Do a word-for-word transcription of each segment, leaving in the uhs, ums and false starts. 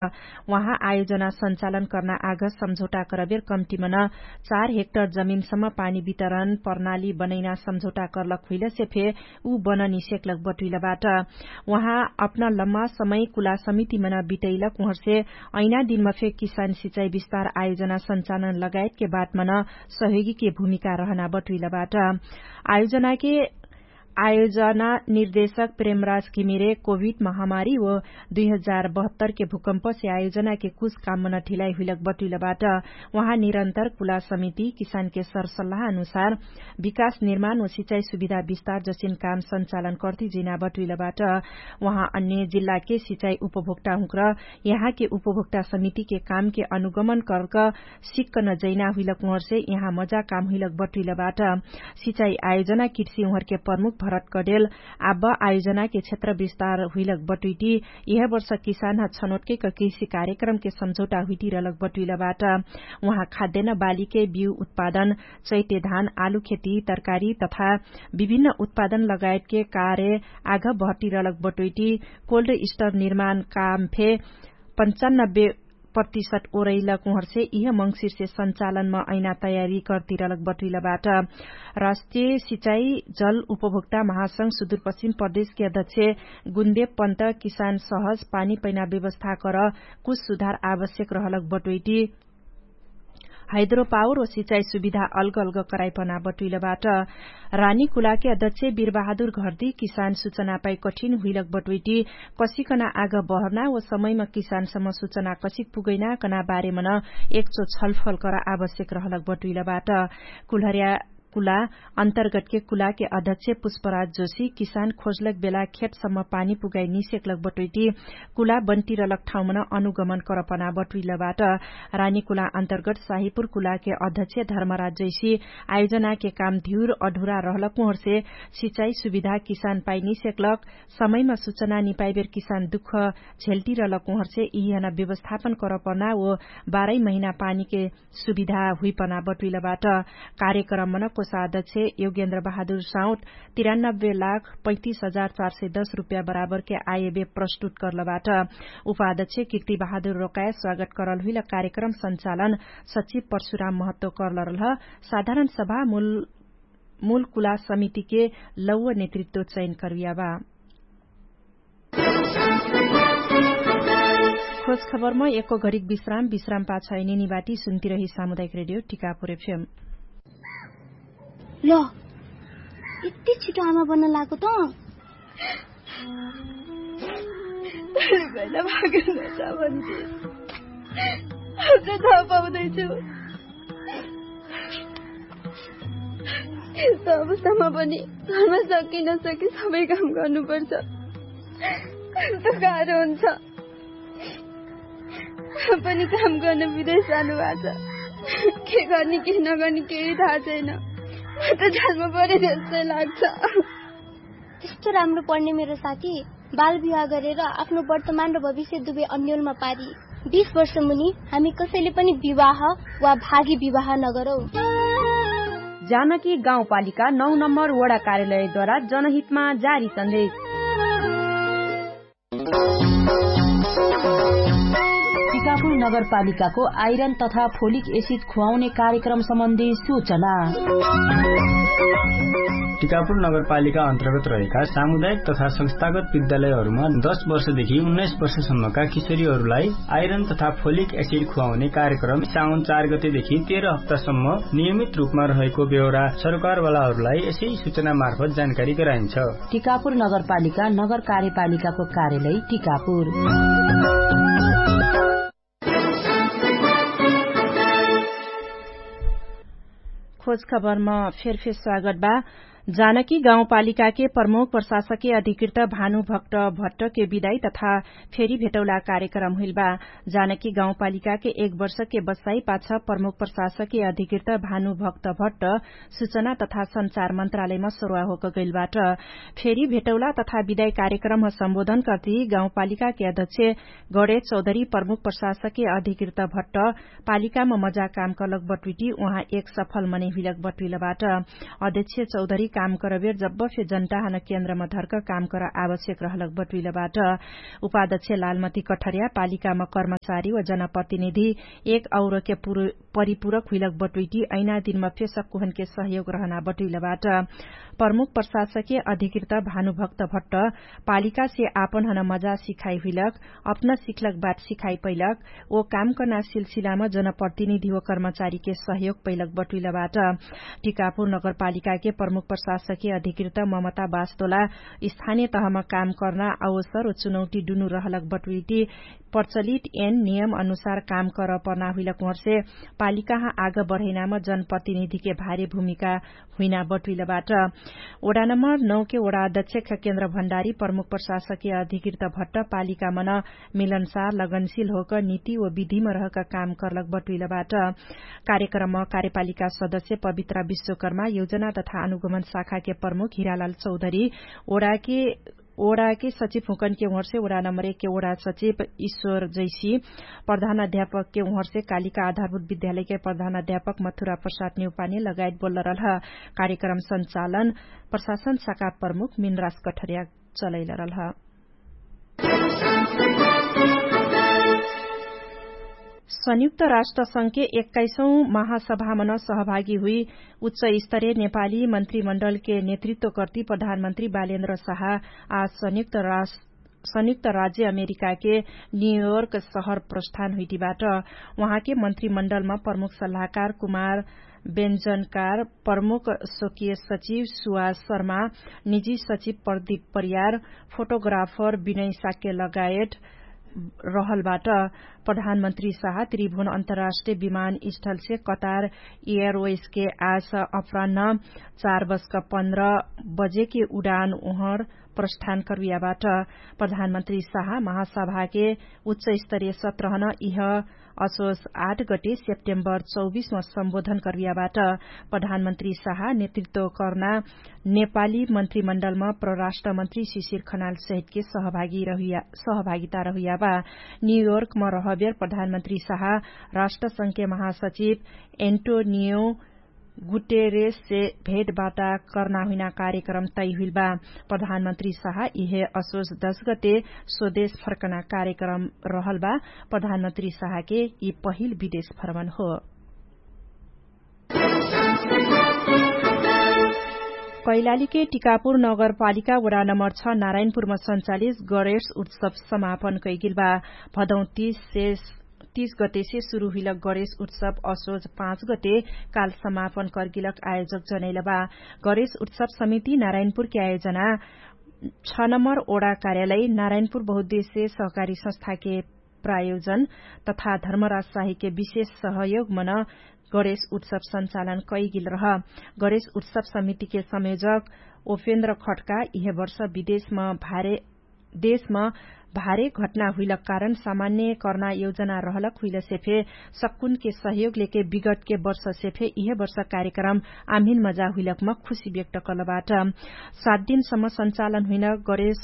उहाँ आयोजना सञ्चालन कर्ना आघ सम्झौटा करबेर कम्तिमन चार हेक्टर जमिनसम्म पानी वितरण प्रणाली बनैना सम्झौटा कर्लक हुइलसे फे उ बननिसेक्लक बटुइलबाट। उहाँ अपना लम्मा समय कुला समितिमन बिटैलक उहर्से ऐना दिनमा फे किसान सिचाइ विस्तार आयोजना सञ्चालन लगायतके बाटमन सहयोगीके भूमिका रहना बटुइलबाट। आयोजनाके आयोजना निर्देशक प्रेमराज किमिरे कोभिड महामारी व दुई हजार बहत्तरके भूकम्पसे आयोजनाके कुछ काममन ढिलाइ हुइलक बटुइलबाट। उहाँ निरन्तर कुला समिति किसानके सरसल्लाह अनुसार विकास निर्माण व सिचाइ सुविधा विस्तार जसिन काम सञ्चालन कर्ति जिना बटुइलबाट। उहाँ अन्य जिल्लाके सिचाइ उपभोक्ता हुँक्र यहाँके उपभोक्ता समितिके कामके अनुगमन कर्क सिक्क नजैना हुइलक उहर्से यहाँ मजा काम हुइलक बटुइलबाट। सिचाइ आयोजना किर्सी उहर्के प्रमुख भरत कडेल आब आयोजनाके क्षेत्र विस्तार हुइलक बटुइटी यह वर्ष किसान ह छनोटके क किर्सी कार्यक्रमके सम्झौटा हुइटी रहलक बटुइलबाट। उहाँ खाद्यन बालीके बिउ उत्पादन, चैते धान, आलु खेती, तरकारी तथा विभिन्न उत्पादन लगायतके कार्य आघ भर्टी रहलक बटुइटी कोल्ड स्टर निर्माण काम फे पन्चानब्बे प्रतिशत ओरैलक उहर्से इह मंगसिरसे सञ्चालनमा ऐना तयारी कर्तिरलक बटुइलबाट। राष्ट्रिय सिचाइ जल उपभोक्ता महासंघ सुदूरपश्चिम प्रदेशके अध्यक्ष गुन्देव पन्त किसान सहज पानी पैना व्यवस्था कर कुछ सुधार आवश्यक रहलक बटुइटी हाइद्रोपावर व सिचाइ सुविधा अल्ग अल्ग कराइपना बटुइलबाट। रानी कुलाके अध्यक्ष बिरबहादुर घर्दी किसान सुचना पाइ कठिन हुइलक बटुइटी कसिकना आघ बहर्ना व समयमा किसानसम्म सुचना कसिक पुगैना कना बारेमन एकचो छलफल करा आवश्यक रहलक बटुइलबाट। कुल्हर्या कुला अन्तर्गतके कुलाके अध्यक्ष पुष्पराज जोशी किसान खोजलक बेला खेतसम्म पानी पुगाइ निसेक्लक बटुइटी कुला बन्टिरलक ठाउँमन अनुगमन करपना बटुइलबाट। रानी कुला अन्तर्गत साहिपुर कुलाके अध्यक्ष धर्मराज जैसी आयोजनाके काम धिउर अढुरा रहलक उहर्से सिचाइ सुविधा किसान पाइ निसेक्लक समयमा सुचना निपाइबेर किसान दुख झेल्टिरलक उहर्से इहना व्यवस्थापन करपना व बाह्रै महिना पानीके सुविधा हुइपना बटुइलबाट। कार्यक्रममन कोषाध्यक्ष योगेन्द्र बहादुर साउट तिरानब्बे लाख पैतिस हजार चार सय दस रुप्या बराबरके आयबे प्रस्तुत कर्लबाट। उपाध्यक्ष किर्ति बहादुर रोकाय स्वागत करल हुइल कार्यक्रम सञ्चालन सचिव परशुराम महत्व कर्लरलह साधारण सभा मूल कुला समितिके लौव नेतृत्व चयन करुयाबा। खोज खबरमा एको घरिक विश्राम विश्राम पाछ निनिबाटी सुन्तिरही सामुदायिक रेडियो टिकापुर एफएम। ल यति छिटो आमा बन्न लागो त। पाउँदैछु यस्तो अवस्थामा पनि घरमा सकिन सके सबै काम गर्नुपर्छ। कस्तो गाह्रो हुन्छ। पनि काम गर्न विदेश जानुभएको छ। के गर्ने के नगर्ने केही थाहा छैन। म त जालमा परे जस्तै लाग्छ। त्यस्तो राम्रो पढ्ने मेरो साथी बाल विवाह गरेर आफ्नो वर्तमान र भविष्य दुवै अन्योलमा पारी बिस वर्ष मुनि हामी कसैले पनि विवाह वा भागी विवाह नगरौँ। जानकी गाउँपालिका नौ नम्बर वडा कार्यालयद्वारा जनहितमा जारी सन्देश। टिकापुर नगरपालिकाको आइरन तथा फोलिक एसिड खुवाउने कार्यक्रम सम्बन्धी सूचना। टिकापुर नगरपालिका अन्तर्गत रहेका सामुदायिक तथा संस्थागत विद्यालयहरूमा दस वर्षदेखि उन्नाइस वर्षसम्मका किशोरीहरूलाई आइरन तथा फोलिक एसिड खुवाउने कार्यक्रम साउन चार गतेदेखि तेह्र हप्तासम्म नियमित रूपमा रहेको बेहोरा सरकारवालाहरूलाई यसै सूचना मार्फत जानकारी गराइन्छ। टिकापुर नगरपालिका नगर कार्यपालिकाको कार्यालय टिकापुर। खोज खबरमा फेरफेर स्वागत बा। जानकी गाउँपालिकाके प्रमुख प्रशासके अधिकृत भानुभक्त भट्टके विदाई तथा फेरी भेटौला कार्यक्रम हुइल बा। जानकी गाउँपालिकाके एक वर्षके बस्साई पाछ प्रमुख प्रशासके अधिकृत भानुभक्त भट्ट सुचना तथा सञ्चार मन्त्रालयमा सरुवा होक गैलबाट। फेरी भेटौला तथा विदाई कार्यक्रम सम्बोधन कर्ति गाउँपालिकाके अध्यक्ष गडे चौधरी प्रमुख प्रशासके अधिकृत भट्ट पालिकामा मजा काम कलक बटुइटी उहाँ एक सफल मनै हुइलक बटुइलबाट। अध्यक्ष चौधरी काम करबेर जब्ब फे जनताहन केन्द्रमा धर्क काम कर आवश्यक रहलक बटुइलबाट। उपाध्यक्ष लालमती कठर्या पालिकामा कर्मचारी व जनप्रतिनिधि एक औरके परिपूरक हुइलक बटुइटी ऐना दिनमा फे सक्कुहनके सहयोग रहना बटुइलबाट। प्रमुख प्रशासके अधिकृत भानुभक्त भट्ट पालिकासे आपनहन मजा सिखाइ हुइलक अपना सिखलक बाट सिखाइ पैलक ओ काम कर्ना सिलसिलामा जनप्रतिनिधि व कर्मचारीके सहयोग पैलक बटुइलबाट। टिकापुर नगरपालिकाके प्रमुख प्रशासके अधिकृत ममता बास्तोला स्थानिय तहमा काम कर्ना अवसर व चुनौटी डुनु रहलक बटुइटी प्रचलित एन नियम अनुसार काम कर पर्ना हुइलक उहर्से पालिकाह आग बढैनामा जनप्रतिनिधिके भारी भूमिका हुइना बटुइलबाट। ओडा नम्बर नौके ओडा अध्यक्ष केन्द्र भण्डारी प्रमुख प्रशासके अधिकृत भट्ट पालिकामन मिलनसार लगनशिल होक नीति व विधिम रहक काम कर्लक बटुइलबाट। कार्यक्रम कार्यपालिका सदस्य पवित्रा विश्वकर्मा योजना तथा अनुगमन शाखाके प्रमुख हिरालाल चौधरी ओडाके ओडाके सचिव हुँकनके उहर्से ओडा नम्बर एकके ओडा सचिव ईश्वर जैसी प्रधान अध्यापकके उहर्से कालिका आधारभूत विद्यालयके प्रधान अध्यापक मथुरा प्रसाद नेउपाने लगायत बोल्ल रहल ह। कार्यक्रम सञ्चालन प्रशासन शाखा प्रमुख मिनरास कठरिया चलैल रहल ह। संयुक्त राष्ट्र संघके एक्काइसौँ महासभामन सहभागी हुइ उच्च स्तरीय नेपाली मन्त्रीमण्डलके नेतृत्व कर्ती प्रधानमन्त्री बालेन्द्र साहा आज संयुक्त राज्य अमेरिकाके न्युयोर्क सहर प्रस्थान हुइटीबाट। उहाँके मन्त्रीमण्डलमा प्रमुख सल्लाहकार कुमार बेन्जनकार, प्रमुख स्वकिय सचिव सुवास शर्मा, निजी सचिव प्रदीप परियार, फोटोग्राफर विनय साक्य लगायत रहलबाट। प्रधानमन्त्री साहा त्रिभुन अन्तर्राष्ट्रिय विमानस्थलसे कतार एयरवेसके आज अपरान्ह चार बजक पन्ध्र बजेके उडान उहर प्रस्थान करुयाबाट। प्रधानमन्त्री साहा महासभाके उच्च स्तरीय सत्रहन इह असोस आठ गटे सेप्टेम्बर चौबिसमा सम्बोधन करुयाबाट। प्रधानमन्त्री साहा नेतृत्व कर्ना नेपाली मन्त्रीमण्डलमा परराष्ट्रमन्त्री शिशिर खनाल सहितके सहभागिता रहुयाबा। न्युयोर्कमा रहबेर प्रधानमन्त्री साहा राष्ट्रसंघके महासचिव एन्टोनियो गुटेरेससे भेटबाटा कर्ना हुइना कार्यक्रम तैहुइलबा। प्रधानमन्त्री साहा इहे असोस दश गते स्वदेश फर्कना कार्यक्रम रहलबा। प्रधानमन्त्री साहाके यि पहिल विदेश भ्रमण हो। कैलालीके टिकापुर नगरपालिका वडा नम्बर छ नारायणपुरमा सञ्चालित गरेश उत्सव समापन कैगिलबा। भदौ तीस गतेसे सुरु हुइलक गरेश उत्सव असोज पाँच गते काल समापन कर्गिलक आयोजक जनैलबा। गरेश उत्सव समिति नारायणपुरके आयोजना छ नम्बर ओडा कार्यालय नारायणपुर बहुद्देश्य सहकारी संस्थाके प्रायोजन तथा धर्मराज साहिके विशेष सहयोग मन गरेश उत्सव सञ्चालन कैगिल रह। गरेश उत्सव समितिके संयोजक ओफेन्द्र खट्का इहे वर्ष विदेशमा भारे देशमा भारे घटना हुइलक कारण सामान्य कर्ना योजना रहलक हुइलसे फे सक्कुनके सहयोग लेके विगतके वर्षसे फे इहे वर्ष कार्यक्रम आम्हिन मजा हुइलकमा खुशी व्यक्त कलबाट। सात दिनसम्म सञ्चालन हुइन गरेश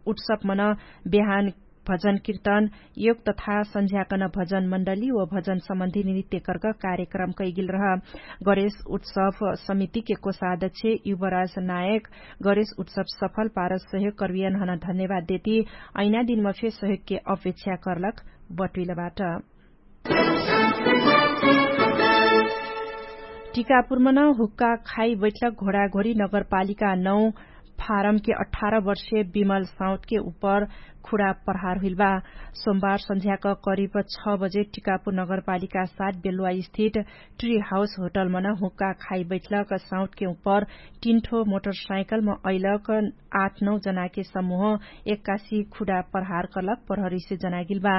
उत्सव मन बेहान भजन किर्तन योग तथा सन्झ्याकन भजन मण्डली व भजन सम्बन्धी नृत्य कर्क कार्यक्रम कैगिल रह। गरेश उत्सव समितिके कोषाध्यक्ष युवराज नायक गरेश उत्सव सफल पारस सहयोग कर्वियनहन धन्यवाद देती ऐना दिनमा फे सहयोगके अपेक्षा कर्लक बटुइलबाट। टिकापुरमन हुक्का खाइ बैठलक घोडाघोडी नगरपालिका नौ फारमके अठार वर्षे विमल साउतके उपर खुडा प्रहार हुइलबा। सोमबार सन्झ्याक करिब छ बजे टिकापुर नगरपालिका सात बेलुवा स्थित ट्री हाउस होटलमन हुक्का खाइ बैठलक साउतके उपर टिन्ठो मोटरसाइकलम अइलक आठ नौ जनाके समूह एक्कासी खुडा प्रहार कलक प्रहरीसे जनागिलबा।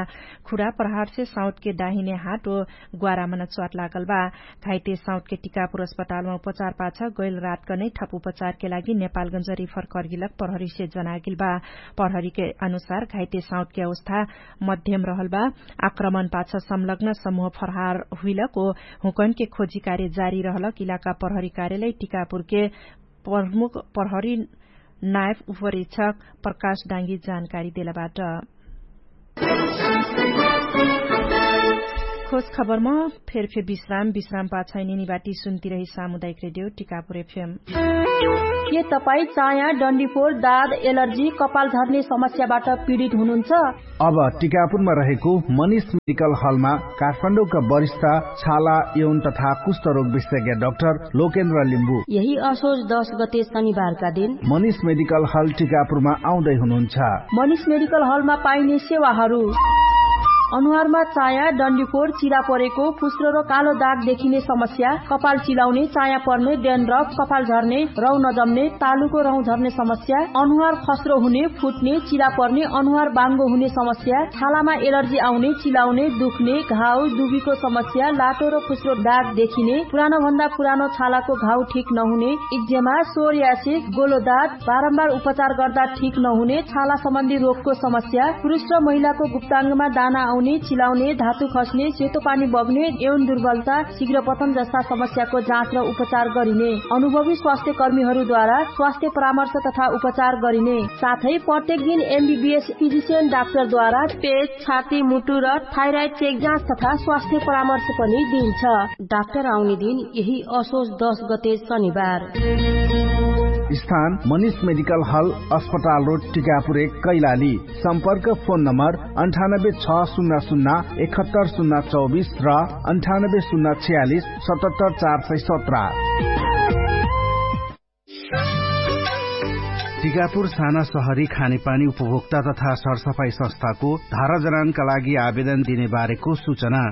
खुडा प्रहारसे साउतके डाहिने हाट ओ ग्वारामन च्वाट लागलबा। घाइते साउतके टिकापुर अस्पतालमा उपचार पाछ गैल रातकनै ठप उपचारके लागि नेपालगन्ज रिफर कर्गिलक प्रहरीसे जनागिलबा। प्रहरीके अनुसार घाइते साउतके अवस्था मध्यम रहलबा। आक्रमण पाछ संलग्न समूह फरहार हुइलक ओ हुँकनके खोजी कार्य जारी रहलक इलाका प्रहरी कार्यालय टिकापुरके प्रमुख प्रहरी नायफ उपरीक्षक प्रकाश डाङ्गी जानकारी देलबाट। खबरमा फेरफे विश्राम विश्राम पाछै निनिबाटी सुन्तिरही सामुदायिक रेडियो टिकापुर एफएम। के तपाईँ चाया डन्डीफोर दाद एलर्जी कपाल झर्ने समस्याबाट पीडित हुनुहुन्छ? अब टिकापुरमा रहेको मनिष मेडिकल हलमा काठमाडौँका वरिष्ठ छाला यौन तथा कुष्ठरोग विशेषज्ञ डाक्टर लोकेन्द्र लिम्बू यही असोज दश गते शनिबारका दिन मनिष मेडिकल हल टिकापुरमा आउँदै हुनुहुन्छ। मनिष मेडिकल हलमा पाइने सेवाहरू अनुहारमा चाया डन्डीफोर चिरा परेको फुस्रो र कालो दाग देखिने समस्या, कपाल चिलाउने चाया पर्ने डेन र कपाल झर्ने रौ नजम्ने तालुको रौ झर्ने समस्या, अनुहार खस्रो हुने फुट्ने चिरा पर्ने अनुहार बाङ्गो हुने समस्या, छालामा एलर्जी आउने चिलाउने दुख्ने घाउ दुबीको समस्या लाटो र फुस्रो दाग देखिने पुरानो भन्दा पुरानो छालाको घाउ ठिक नहुने, इक्जेमा सोर्यासिक गोलोदात बारम्बार उपचार गर्दा ठिक नहुने छाला सम्बन्धी रोगको समस्या, पुरुष र महिलाको गुप्ताङ्गमा दाना आउने चिलाउने धातु खस्ने सेतो पानी बग्ने एवं दुर्बलता शीघ्र पतन जस्ता समस्याको जाँच र उपचार गरिने अनुभवी स्वास्थ्यकर्मीहरूद्वारा स्वास्थ्य परामर्श तथा उपचार गरिने साथै प्रत्येक दिन एमबिबिएस फिजिसियन डाक्टरद्वारा पेट छाती मुटु र थाइराइड चेक जाँच तथा स्वास्थ्य परामर्श पनि दिइन्छ। डाक्टर आउने दिन यही असोज दश गते शनिबार। स्थान मनिष मेडिकल हल अस्पताल रोड टिकापुर एक कैलाली। सम्पर्क फोन नम्बर अन्ठानब्बे छ शून्य शून्य एकहत्तर शून्य चौबिस र अन्ठानब्बे शून्य छयालिस सतहत्तर चार सय सत्र। टिकापुर साना सहरी खानेपानी उपभोक्ता तथा सरसफाई संस्थाको धारा जनानका लागि आवेदन दिने बारेको सूचना।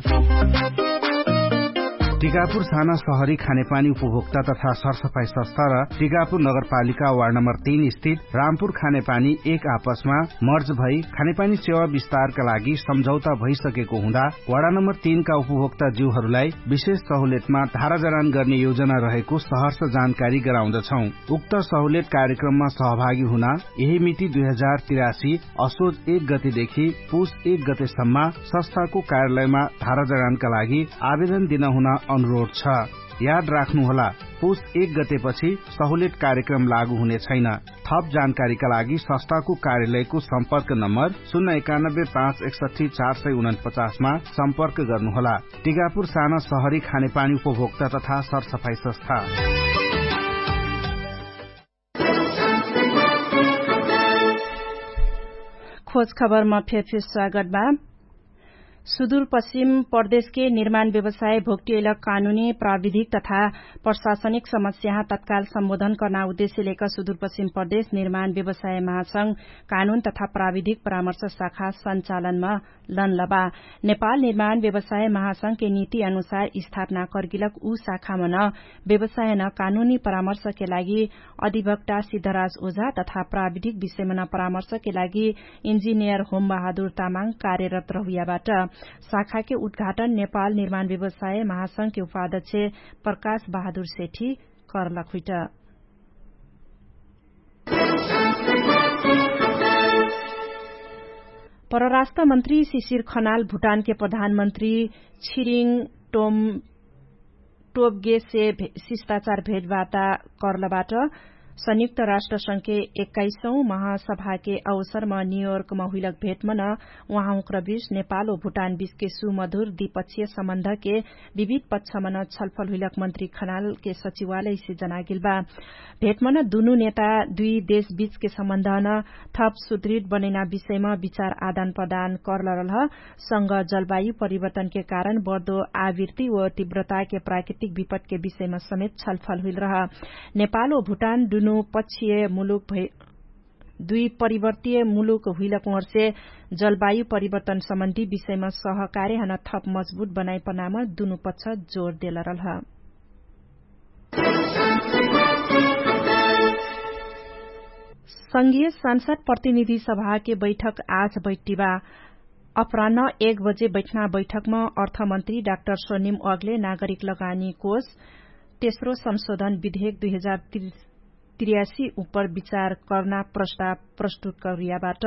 टिकापुर साना सहरी खानेपानी उपभोक्ता तथा सरसफाई संस्था र टिकापुर नगरपालिका वार्ड नम्बर तीन स्थित रामपुर खानेपानी एक आपसमा मर्ज भई खानेपानी सेवा विस्तारका लागि सम्झौता भइसकेको हुँदा वार्ड नम्बर तीनका उपभोक्ता ज्यूहरूलाई विशेष सहुलेतमा धाराजरान गर्ने योजना रहेको सहर्ष जानकारी गराउँदछौँ। उक्त सहुलेत कार्यक्रममा सहभागी हुन यही मिति दुई हजार तिरासी असोज एक गतेदेखि पुस एक गतेसम्म संस्थाको कार्यालयमा धाराजरानका लागि आवेदन दिन हुन अनुरोध छ। याद राख्नुहोला, पुस एक गतेपछि सहुलेट कार्यक्रम लागू हुने छैन। थप जानकारीका लागि संस्थाको कार्यालयको सम्पर्क नम्बर शून्य एकानब्बे पाँच एकसठी चार सय उनपचासमा सम्पर्क गर्नुहोला। टिकापुर साना सहरी खानेपानी उपभोक्ता तथा सरसफाई संस्था। खोज खबरमा फेरफेर स्वागत बा। सुदूरपश्चिम प्रदेशके निर्माण व्यवसाय भोक्टियैलक कानुनी प्राविधिक तथा प्रशासनिक समस्याहा तत्काल सम्बोधन कर्ना उद्देश्य लेक सुदूरपश्चिम प्रदेश निर्माण व्यवसाय महासंघ कानुन तथा प्राविधिक परामर्श शाखा सञ्चालनमा लनलबा। नेपाल निर्माण व्यवसाय महासंघके नीति अनुसार स्थापना कर्गिलक उ शाखामन व्यवसायन कानुनी परामर्शके लागि अधिवक्टा सिद्धराज ओझा तथा प्राविधिक विषयमन परामर्शके लागि इन्जिनियर होमबहादुर तामाङ कार्यरत रहुयाबाट। शाखाके उद्घाटन नेपाल निर्माण व्यवसाय महासंघके उपाध्यक्ष प्रकाश बहादुर सेठी करलक हुइट। परराष्ट्र मन्त्री शिशिर खनाल भुटानके प्रधानमन्त्री छिरिङ टोम टोबगेसे शिष्टाचार भेटवार्ता कर्लबाट। संयुक्त राष्ट्र संघके एक्काइसौँ महासभाके अवसरमा न्युयोर्कमा हुइलक भेटमन उहाँहुँक्र बिच नेपाल ओ भुटान बिचके सुमधुर द्विपक्षीय सम्बन्धके विविध पक्षमन छलफल हुइलक मन्त्री खनालके सचिवालयसे जनागेल बा। भेटमन दुनु नेता दुइ देशबिचके सम्बन्धन थप सुदृढ बनैना विषयमा विचार आदान प्रदान कर्लरलह। संग जलवायु परिवर्तनके कारण बढ्दो आवृत्ति व तीव्रताके प्राकृतिक विपटके विषयमा समेत छलफल हुइलरह। नेपाल व भुटान दुनु पक्षीय मुलुक भै दुइ परिवर्तीय मुलुक हुइलक ओर्से जलवायु परिवर्तन सम्बन्धी विषयमा सहकार्य हन थप मजबुत बनाइपनाम दुनु पक्ष जोर देलरलह। संघीय सांसद प्रतिनिधि सभाके बैठक आज बैठिबा। अपरान्ह एक बजे बैठना बैठकम अर्थमन्त्री डाक्टर सोनिम अग्ले नागरिक लगानी कोष तेस्रो संशोधन विधेयक दुई हजार त्रियासी उपर विचार कर्ना प्रस्ताव प्रस्तुत करियाबाट।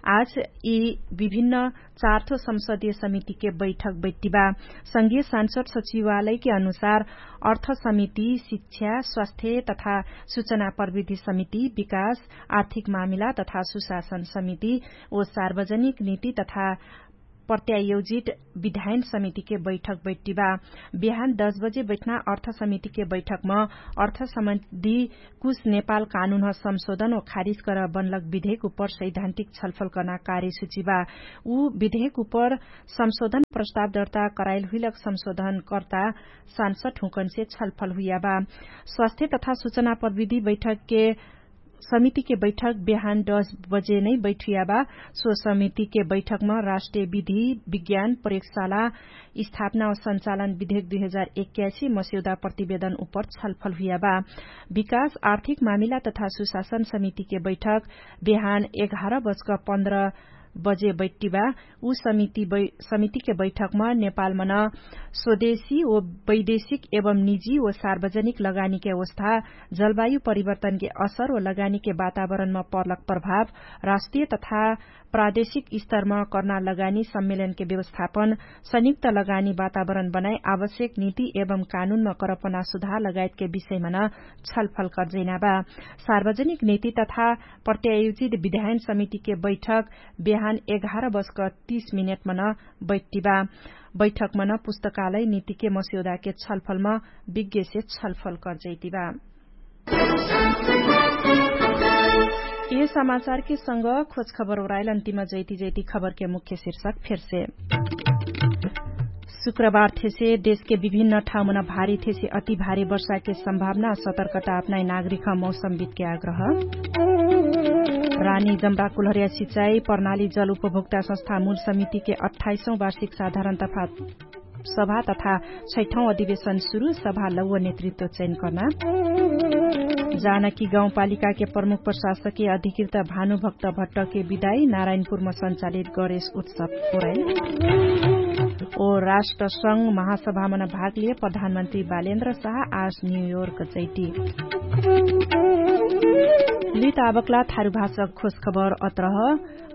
आज यी विभिन्न चार्थो संसदीय समितिके बैठक बैठिबा। संघीय सांसद सचिवालयके अनुसार अर्थ समिति शिक्षा स्वास्थ्य तथा सूचना प्रविधि समिति विकास आर्थिक मामिला तथा सुशासन समिति ओ सार्वजनिक नीति तथा प्रत्यायोजित विधायन समितिके बैठक बैठ्टिबा। बिहान दस बजे बैठ्ना अर्थ समितिके बैठकम अर्थ सम्बन्धी कुछ नेपाल कानुनह संशोधन व खारिज कर बनलक विधेक उपर सैद्धान्तिक छलफल कर्ना कार्यसुचिबा। उ विधेक उपर संशोधन प्रस्ताव दर्ता कराइल हुइलक संशोधन कर्ता सांसद हुँकन्से छलफल हुइयाबा। स्वास्थ्य तथा सुचना प्रविधि बैठकके समितिके बैठक बिहान दस बजे नै बैठियाबा। सो समितिके बैठकमा राष्ट्रिय विधि विज्ञान प्रयोगशाला स्थापना व संचालन विधेक दुई हजार एक्यासी मस्यौदा प्रतिवेदन उपर छलफल हुइयाबा। विकास आर्थिक मामिला तथा सुशासन समितिके बैठक बिहान एघार बजक पन्ध्र बजे बैठ्टिबा। उ समितिके बैठकमा नेपालमन स्वदेशी व वैदेशिक एवं निजी व सार्वजनिक लगानीके अवस्था, जलवायु परिवर्तनके असर व लगानीके वातावरणमा पर्लक प्रभाव, राष्ट्रिय तथा प्रादेशिक स्तरमा कर्ना लगानी सम्मेलनके व्यवस्थापन, संयुक्त लगानी वातावरण बनाइ आवश्यक नीति एवं कानुनमा करपना सुधार लगायतके विषयमन छलफल कर्जैनाबा। सार्वजनिक नीति तथा प्रत्यायोजित विधायन समितिके बैठक बिहान एघार बजक तीस मिनेटमन बैठ्टिबा। बैठकमन पुस्तकालय नीतिके मस्यौदाके छलफलम विज्ञसे छलफल कर्जैतिबा। यह समाचारके संग खोजखबर ओराइल अन्तिम जैति जैति खबरके मुख्य शीर्षक फेरसे। शुक्रबार थेसे देशके विभिन्न ठाउँमन भारी थेसे अति भारी वर्षाके सम्भावना सतर्कता अपनाइ नागरिक मौसमविदके आग्रह। रानी जम्बा कुलहरिया सिचाइ प्रणाली जल उपभोक्ता संस्था मूल समितिके अठाइसौँ वार्षिक साधारण तथा सभा तथा छैठौँ अधिवेशन सुरु। सभा लौव नेतृत्व चयन कर्ना। जानकी गाउँपालिकाके प्रमुख प्रशासके अधिकृत भानुभक्त भट्टके विदाई नारायणपुरमा सञ्चालित गरेश उत्सव ओराइल। ओ राष्ट्रसंघ महासभामन भागलिए प्रधानमन्त्री बालेन्द्र साह आज न्युयोर्क जैति। लित आबकला थारु भाषक खोजखबर अत्रह।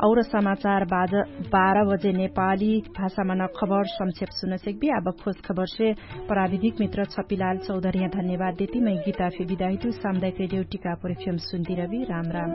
और समाचार बार बजे नेपाली भाषामन खबर संक्षेप सुनसेक्बी आब खोजखबरसे प्राविधिक मित्र छपिलाल चौधरिया धन्यवाद देती मै गीताफे विदाहितु सामुदायिक रेडियो टिकापुर एफएम सुन्दिरबी। राम राम।